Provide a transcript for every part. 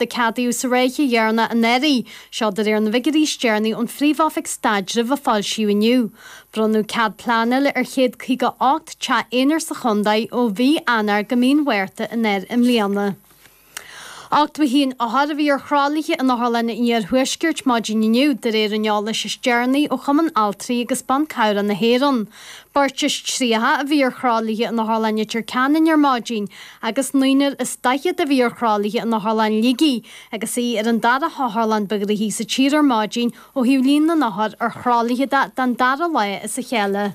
A ceadaíodh sa ráithe dheireanach anuraidh, seo de réir na bhfigiúirí is deireanaí ón Phríomh-Oifig Staidrimh a foilsíodh inniu. Bronnadh cead pleanála ar 158 teach aonair sa chontae ó mhí Eanáir go mí an Mhárta i mbliana. 81 othar a bhí ar thralaithe in Otharlann an Iarthuaiscirt maidin inniu, de réir an eolais is deireanaí ó Chumann Altraí agus Ban Cabhrach na hÉireann. Beirt is 30 a bhí ar thralaithe in Otharlann Leitir Ceanainn ar maidin agus naonúr is 40 a bhí ar thralaithe in Otharlann Shligigh agus í ar an dara hotharlann ba ghnoithí sa tír ar maidin ó thaobh líon na n-othar ar thralaithe de don dara lá as a chéile.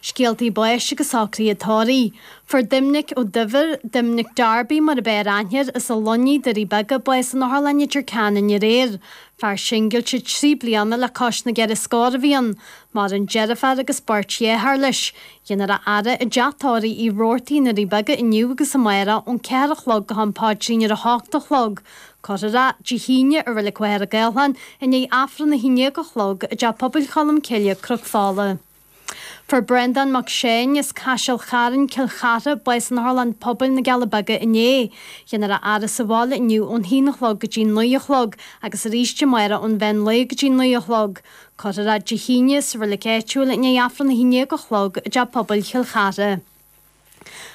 Scéaltaí báis agus socruithe tórraimh. Fuair Doimnic Ó Duibhir, Doimnic Darby mar ab fhearr aithne air, as an Luinnigh, Doirí Beaga, bás in Otharlann Leitir Ceanainn aréir. Fear singilte 3 bliana le cois na gceithre scór a bhí ann. Maireann deirfiúr agus beirt dheartháir leis. Déanfar a fhaire i dTeach Tórraimh Uí Robhartaigh i nDoirí Beaga inniu agus amárach ón 4 a chlog go ham paidrín ar a 8 a chlog. Cuirfear é Dé hAoine i Reilig Mhachaire Gathlán i ndiaidh Aifreann 11 a chlog i dTeach Pobail Cholm Cille, Cnoc Fola. Fuair Breandán Mac Seáin as Caiseal Chairn, Cill Chartha, bás in Otharlann Pobail na gCealla Beaga inné. Déanfar a fhaire sa bhaile inniu ón haon a chlog go dtí 9 a chlog agus arís amárach ón mheán lae go dtí 9 a chlog. Cuirfear é Dé hAoine sa reilig áitiúil i ndiaidh Aifreann 11 a chlog i dTeach Pobail Chill Chartha.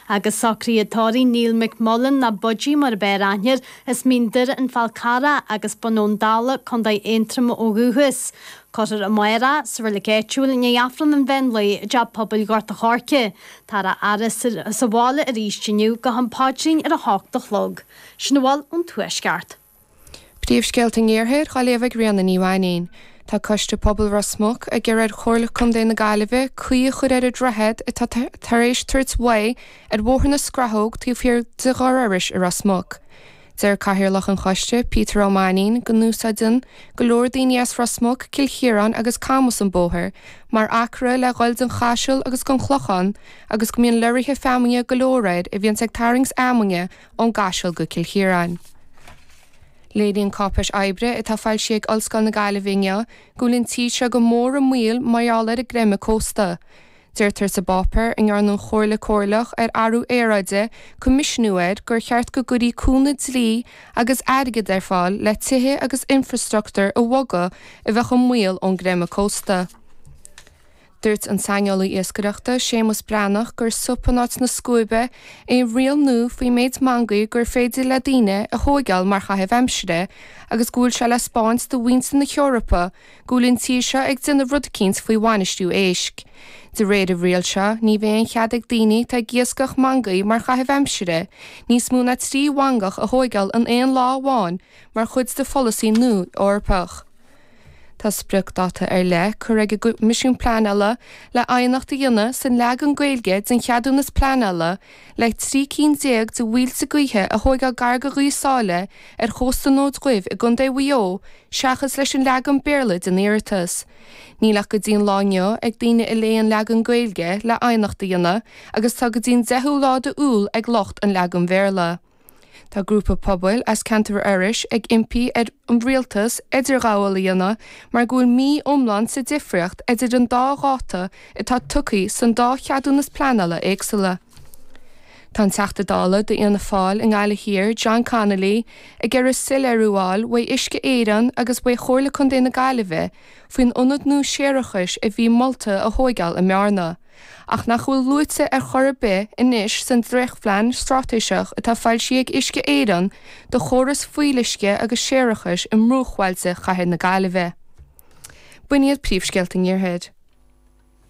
Agus socruithe tórraimh Neil McMullen nó Budgie mar ab fhearr aithne air, as Mín Doire an Fál Carrach agus Bun Abhann Dalla, Co. Aontroma ó dhúchas. Cuirfear amárach sa reilig áitiúil i ndiaidh Aifreann an mheán lae i dTeach Pobail Ghort a' Choirce. Táthar á fhaire sa bhaile arís inniu go ham paidrín ar a hocht a chlog. Sin a bhfuil ón Tuaisceart. Príomhscéalta an Iarthair á léamh ag Ríona Ní Mhainín. Tá Coiste Pobail Ros Muc ag iarraidh ar Chomhairle Contae na Gaillimhe caoi a chur ar an droichead atá tar éis tabhairt uaidh ar Bhóthar na Scrathóg taobh thiar de Dhoire Iorrais i Ros Muc. Deir Cathaoirleach an choiste, Peter Ó Mainín, go n-úsáideann go leor daoine as Ros Muc, Cill Chiaráin agus Camas an bóthar mar acra le dhul den Chaiseal agus den Chlochán agus go mbíonn lorraithe feamainne go leor air a bhíonns ag tarraingt fheamainne ón gCaiseal go Cill Chiaráin. Léiríonn cáipéis oibre atá foilsithe ag Ollscoil na Gaillimhe inniu go bhfuil an tír seo go mór i mbaol mar gheall ar an gcreimeadh cósta. Deirtear sa bpáipéar a ndearna an Chomhairle Comhairleach ar Athrú Aeráide coimisiúnú air gur cheart go gcuirí cúnamh dlí agus airgid ar fáil le tithe agus infreastruchtúr a bhogadh a bheadh i mbaol ón gcreimeadh cósta. Dúirt an saineolaí iascaireachta, Séamus Breathnach, gur sop in áit na scuaibe é an riail nua faoin méid mangaí gur féidir le daoine a thóigeáil mar chaitheamh aimsire agus go bhfuil sé le 'spáint do mhuintir na hEorpa go bhfuil an tír seo ag déanamh rud eicínt faoi bhainistiú éisc. De réir an riail seo, ní bheidh aon chead ag daoine atá ag iascach mangaí mar chaitheamh aimsire níos mó ná 3 mhangach a thóigeáil in aon lá amháin mar chuid de pholasaí nua Eorpach. Tá spriocdháta ar leith curtha ag an gCoimisiún Pleanála le aighneacht a dhéanamh san leagan Gaeilge den cheadúnas pleanála le 13 cinn de mhuilte gaoithe a thóigeáil gar do Ghaoth Sáile ar chósta an Fhóid Dhuibh i gContae Mhaigh Eo seachas leis an leagan Béarla den iarratas. Níl ach go dtí an lá inniu ag daoine a léigh an leagan Gaeilge le aighneacht a dhéanamh agus tá go dtí an 10ú lá d'Iúil ag lucht an leagan Bhéarla. Tá grúpa pobail as ceantar Iorrais ag impí ar an rialtas idirghabháil a dhéanamh mar go bhfuil mí iomlán sa difríocht idir an dá dháta atá tugtha san dá cheadúnas pleanála éagsúla. Tá an Teachta Dála d'Fhianna Fáil i nGaillimh Thiar, John Connolly, ag iarraidh soiléiriú a fháil uaidh Uisce Éireann agus uaidh Chomhairle Contae na Gaillimhe faoin ionad nua séarachais a bhí molta a thóigeáil i mBearna. ach nach bhfuil luaite ar chor ar bith anois san dréachtphlean straitéiseach atá foilsithe ag Uisce Éireann do chóras fuíolluisce agus séarachais i mbruachbhailte chathair na Gaillimhe. B'in iad príomhscéalta an Iarthair.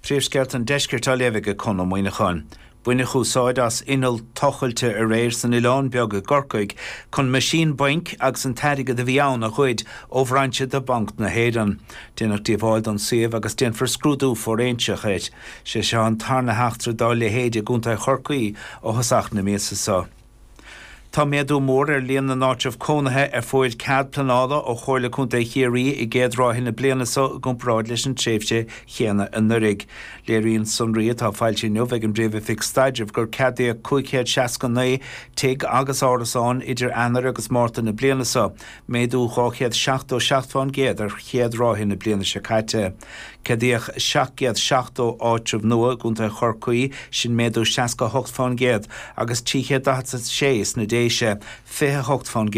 Príomhscéalta an Deiscirt á léamh ag Conn Ó Muíneacháin. Baineadh úsáid as inneall tochailte aréir san Oileán Beag i gCorcaigh chun meaisín bainc agus an t-airgead a bhí ann a ghoid ó bhrainse de Bhanc na hÉireann. Déanadh díobháil don suíomh agus déanfar scrúdú fóiréinseach air. Sé seo an tarna heachtra dá leithéid i gContae Chorcaí ó thosach na míosa seo. Tá méadú mór ar líon na n-áitreabh cónaithe a fuair cead pleanála ó Chomhairle Contae Chiarraí i gcéad ráithe na bliana seo i gcomparáid leis an tréimhse chéanna anuraidh. Léiríonn sonraí atá foilsithe inniu ag an bPríomh-Oifig Staidrimh gur ceadaíodh 569 tigh agus árasán idir Eanáir agus Márta na bliana seo, méadú 277% ar chéad ráithe na bliana seo caite. Ceadaíodh 770 áitreabh nua i gContae Chorcaí, sin méadú 68%, agus 346 sna Déise. Straitéise, 28%.